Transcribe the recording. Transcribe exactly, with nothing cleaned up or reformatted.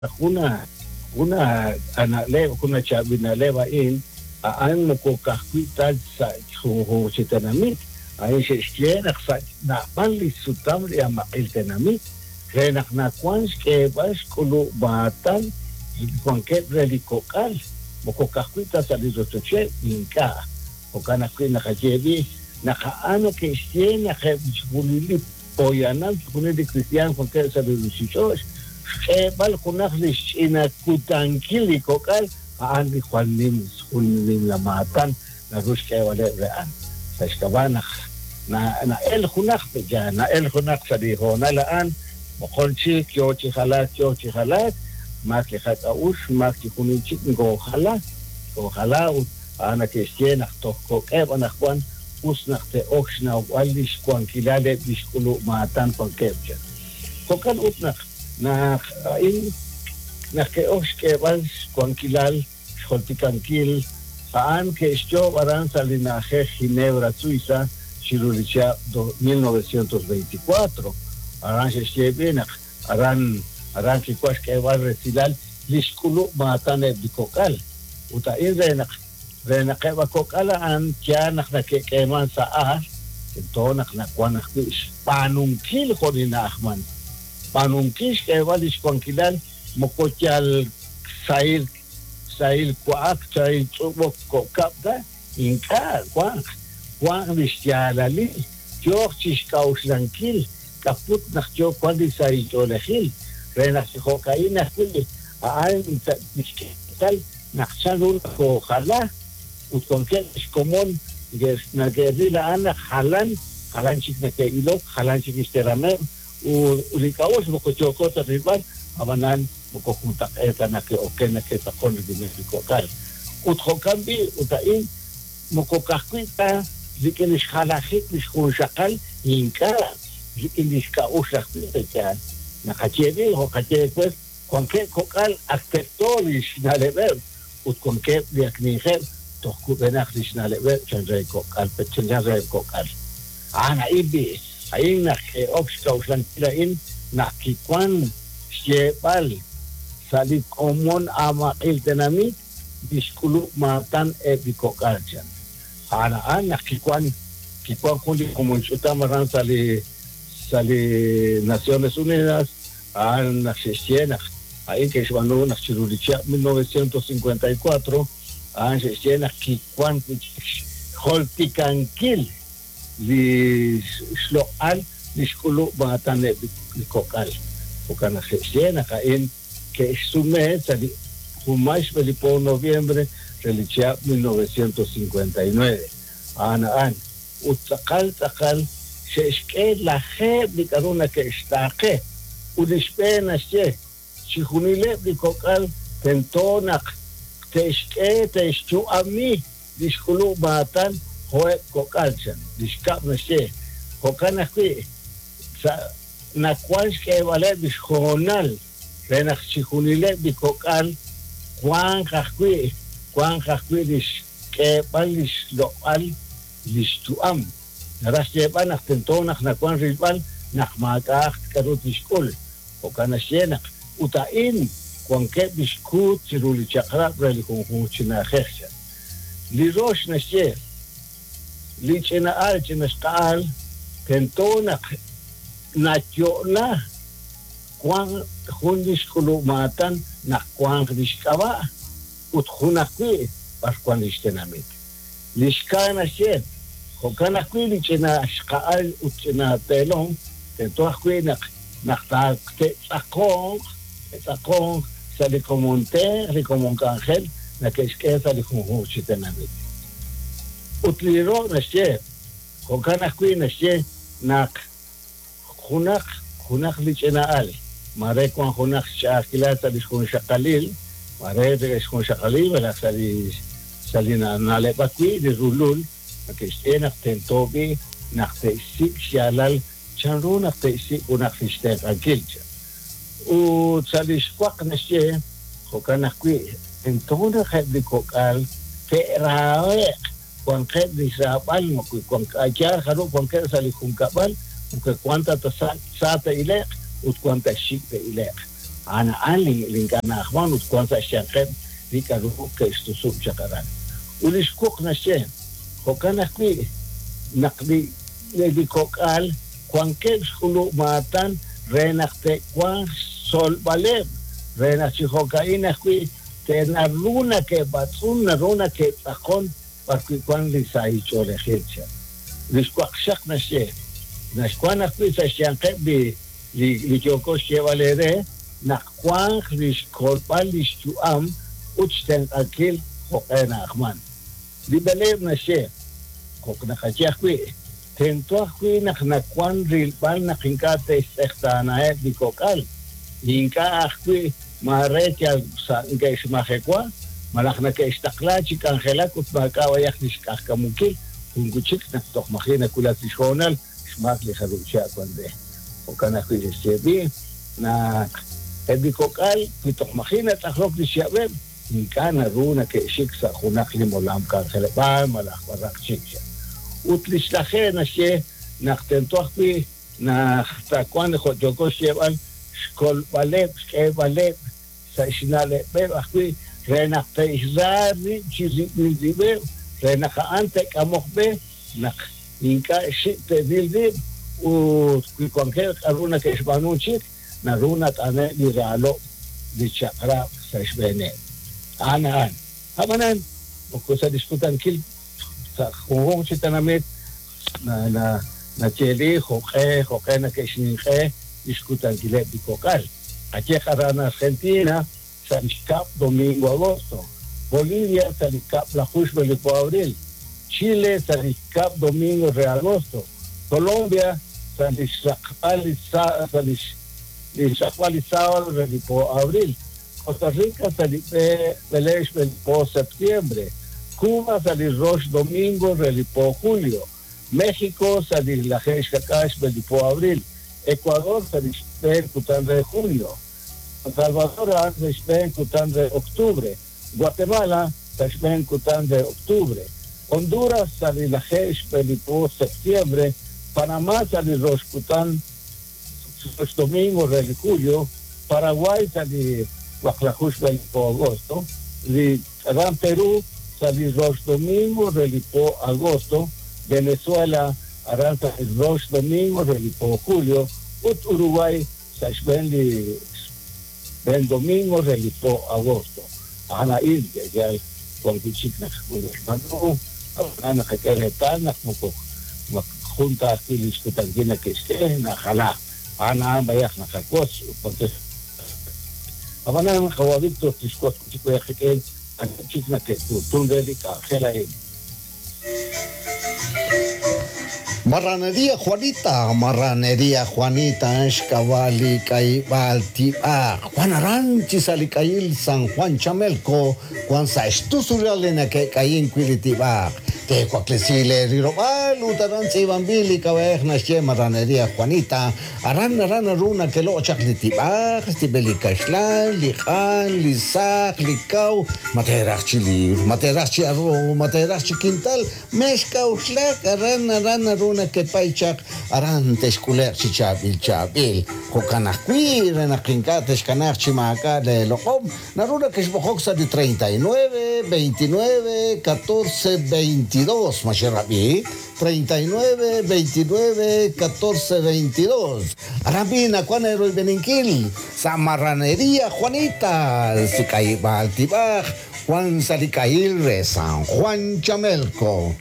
Jun jun na'leb', jun chaab'il na'leb' a'in, a'an moko ka'ajwi' ta sa' junjunq chi tenamit, a'in xe'xye naq sa' naab'al li sutam li amaq'il tenamit, re naq nawan xk'eeb'al xk'ulub' maatan wankeb' re li kok'al, moko ka'ajwi' ta sa' li rochocheb' ink'a'. Jo'kan ajwi' naqaye b'i' naq a'an neke'xye naq eb' chixjunil li poyanam, chixjunil li kristiaan wankeb' sa' li ruuchich'och', xk'eeb'al junaq li xch'ina kutankil li kok'al, a'an li jwal nim jun nimla maatan naru xk'eeb'aleb' re a'an. Sa' xk'ab'a' naq na'el junaq ya na'el junaq sa' li hoonal a'an, moqon chik yoo chi jalaak yoo chi jalaak, maak li qak'a'uxl, maak chixjunil chik ngoojala, ngoojala ut a'an neke'xye naq toj kok'eb' anaqwan us naq te'ok xnawb'al li xwankilal eb' li xk'ulub' maatan wankeb' chaq. Jo'kan ut naq naq a'in naq ke'ok xk'eeb'al xwankilal xjoltikankil a'an ke'xyoob' aran sa' li na'ajej Ginebra, Suiza, chiru li chihab' mil novecientos veinticuatro. Aran xe'xye b'i naq aran aran kiwan xk'eeb'al resilal li xk'ulub' maatan eb' li kok'al. Ut a'in re naq re naq eb' a kok'al a'an yaal naq nake'k'eeman sa' ajl, tento naq nawan ajwi' xb'aanunkil jo' li na'ajman. B'aanunkil xk'eeb'al li xwankilal moko yal sahil sahil wa'ak, sahil tz'ub'ok kok'ab' ta, ink'a' wanq wanq li xyaalalil, yooq chi xk'a'uxlankil k'aput naq yoo wan li sahil ch'oolejil, re naq chi jo'ka'in ajwi' a'an li xk'eetal naq chanru nakoojala ut wankeb' xkomon nake'ril a'an naq jalan, jalan chik nake'ilok, jalan chik xterameb' ut li k'a'uxl moko yooko ta rilb'al, ab'anan moko juntaq'eet ta nake'oken nake'tz'aqon rik'ineb' li kok'al. Ut jo'kan b'i' ut a'in moko ka'ajwi' ta rik'in li xjalajik li xjunxaqal ink'a' rik'in li xk'a'uxl ajwi' yaal. Naqaye b'i' jo' qaye pues wankeb' kok'al ak terto li xna'leb'eb' ut wankeb' li ak ninqeb' toj kub'enaq li xna'leb'eb' chan re kok'al, chan re kok'al. A'an a'in b'i' a'in naq ke'ok xk'a'uxlankil a'in naq kiwan xyeeb'al sa' li komon amaq'il tenamit li xk'ulub' maatan eb' li kok'al chan. A'an a'an naq kiwan kiwan jun li komon ch'utam aran sa' li sa' li Naciones Unidas, a'an naq xe'xye naq a'in ke'xb'aanu naq chiru li chihab' mil novecientos cincuenta y cuatro, a'an xe'xye naq kiwan xjoltikankil li xloq'al li xk'ulub' maatan eb' li kok'al. Jo'kan naq xe'xye naq a'in ke'xsume sa' li junmay xb'e li po noviembre re li chihab' mil novecientos cincuenta y nueve. A'an a'an ut tz'aqal tz'aqal xe'xk'e lajeeb' li k'a'ru nake'xtaaqe ut li xb'een naxye chixjunileb' li kok'al tento naq te'xk'e te'xyu'ami li xk'ulub' maatan jo'eb' kok'al chan. Li xkab' naxye jo'kan ajwi' sa' nawan xk'eeb'aleb' li xhoonal re naq chixjunileb' li kok'al wanq ajwi' wanq ajwi' li xk'eeb'al li xloq'al li xyu'am. Naraj xyeeb'al naq tento naq nawan rilb'al naq maak'a'aq k'a'ru tixk'ul. Jo'kan naxye naq ut a'in wankeb' li xkuut chiru li chaq'rab' re li junjunq chi na'ajej chan. Li rox naxye li ch'ina'al ch'inaxqa'al tento naq nayo'la wan jun li xk'ulub' maatan naq wanq li xk'ab'a' ut jun ajwi' b'ar wan li xtenamit. Li xkaa naxye jo'kan ajwi' li ch'inaxqa'al ut ch'inateelom tento ajwi' naq naq te'tz'aqonq te'tz'aqonq sa' li komonteer li komon k'anjel nake'xk'e sa' li junjunq chi tenamit. Ut li ro' naxye jo'kan ajwi' naxye naq junaq junaq li ch'ina'al mare wan junaq xch'a'ajkilal sa' li xjunxaqalil, mare xjunxaqalil malaj sa' li sa' li na'leb' ajwi' li rulul nake'xye naq tento b'i' naq te'xsik' xyaalal chanru naq te'xsik' junaq li xtenq'ankil chan. Ut sa' li xwaq naxye jo'kan ajwi' tento naq eb' li kok'al te'rahe'q wanqeb' li xraab'al moko wank yaal jarub' wankeb' sa' li junkab'al moko wan ta sa' sa te'ile'q ut wan ta xik' te'ile'q. A'an a'an li ink'a' na'ajman ut wan sa' xyanqeb' li k'a'ru ke'xtusub' chaq aran. Ut li xwuq naxye, jo'kan ajwi' naq li li kok'al wankeb' xk'ulub' maatan re naq te'wanq xtzolb'aleb', re naq chi jo'ka'in ajwi' te'naru nake'b'atz'un, naru nake'tz'aqon b'arwi' wan li sahil ch'oolejil cha. Li xwaqxaq naxye, naxwan ajwi' sa' xyanqeb' li li li yooko xyeeb'al eere naq wanq li xkolb'al li xyu'am ut xtenq'ankil jo'q'e na'ajman. Li b'eleeb' naxye, jo' naqaye ajwi', tento ajwi' naq nawan rilb'al naq ink'a' te'xtz'eqtaanaheb' li kok'al, ink'a' ajwi' maare yal sa' neke'xmajewa, malaj nake'xtaqla chi k'anjelak ut maak'a' b'ayaq li xk'ajkamunkil, jun wi' chik naq toj maji' nawulak li xhoonal xmaak li jarub' chihab' wan re. Jo'kan ajwi' xe'xye b'i' naq eb' li kok'al wi toj maji' natz'aqlok li xchihab'eb', ink'a' naru nake'xik sa' junaq li molam k'anjeleb'aal malaj b'araq chik. Ut li xlaje naxye naq tento ajwi' naq taawanq jo' yooko xyeeb'al xkolb'aleb', xk'eeb'aleb' sa' xna'leb'eb' ajwi' re naq te'xra rib' chi rib'il rib'eb', re naq a'an te'k'amoq b'e naq ink'a' xik' te'ril rib' ut wi wankeb' k'a'ru nake'xb'aanu chik, naru nat'ane' li raalob' li chaq'rab' sa' xb'eeneb'. A'an a'an. Ab'anan, moko sa' li xkutankil sa' junjunq chi tenamit na na nayeeli jo'q'e jo'q'e nake'xninq'e li xkutankileb' li kok'al. Qayeq aran Argentina sa' li xkab' domingo agosto, Bolivia sa' li kab'laju xb'e li po abril, Chile sa' li xkab' domingo re agosto, Colombia sa' li xraqb'al li sa' sa' li li xraqb'al li sábado re li po abril, Costa Rica sa' li b'e b'ele xb'e li po septiembre, Cuba sa' li rox domingo re li po julio, México sa' li laje xkak'al xb'e li po abril, Ecuador sa' li xb'een kutan re junio, San Salvador a'an sa' xb'een kutan re octubre, Guatemala sa' xb'een kutan re octubre, Honduras sa' li laje xb'e li po septiembre, Panamá sa' li rox kutan rox domingo re li julio, Paraguay sa' li waqlaju xb'e li po agosto, li aran Perú sa' li rox domingo re li po agosto, Venezuela aran sa' li rox domingo re li po julio, ut Uruguay sa' xb'een li xb'een domingo re li po agosto. A'an a'in yal wan wi' chik naq xb'aanu, ab'anan naqak'e reetal naq moko jun ta ajwi' li xkutankil nake'xk'e najala. A'an a'an b'ayaq naqawotz porque ab'anan qawa' Víctor tixwotz wi' chik b'ayaq qik'in chik nake'tu'tun re li k'anjel a'in. Marranería Juanita, Marranería Juanita, xk'ab'a' k'ayib'aal tib'aj. Juan Aranchi salik'ayil San Juan Chamelco, Juan sa' xtusulal li nake'k'ayin wi' li tib'aj. Te'waklesi le rilob'aal ut aran tz'iib'anb'il li k'ab'a'ej naxye Marranería Juanita. Aran aran naru nake'loq' chaq li tib'aj, xtib'el li kaxlan, li q'an, li saq, li kaw, ma te'raj chi libr, ma te'raj chi arroz, ma te'raj chi quintal, mex k'a'uxlak aran aran naru nakepay chaq aran te'xk'ule'q chi chaab'il chaab'il. Jo'kan ajwi' re naq ink'a' te'xkanaj chi maak'a' le loq'om, naru nakexb'oqok sa' li treinta y nueve, veintinueve, catorce, veintidós, ma xerab'i, treinta y nueve, veintinueve, catorce, veintidós. Aran b'i nakuan eroyb'eninkil sa' Marranería Juanita, sik'ayib'aal tib'aj, Juan Salik'ayil re San Juan Chamelco.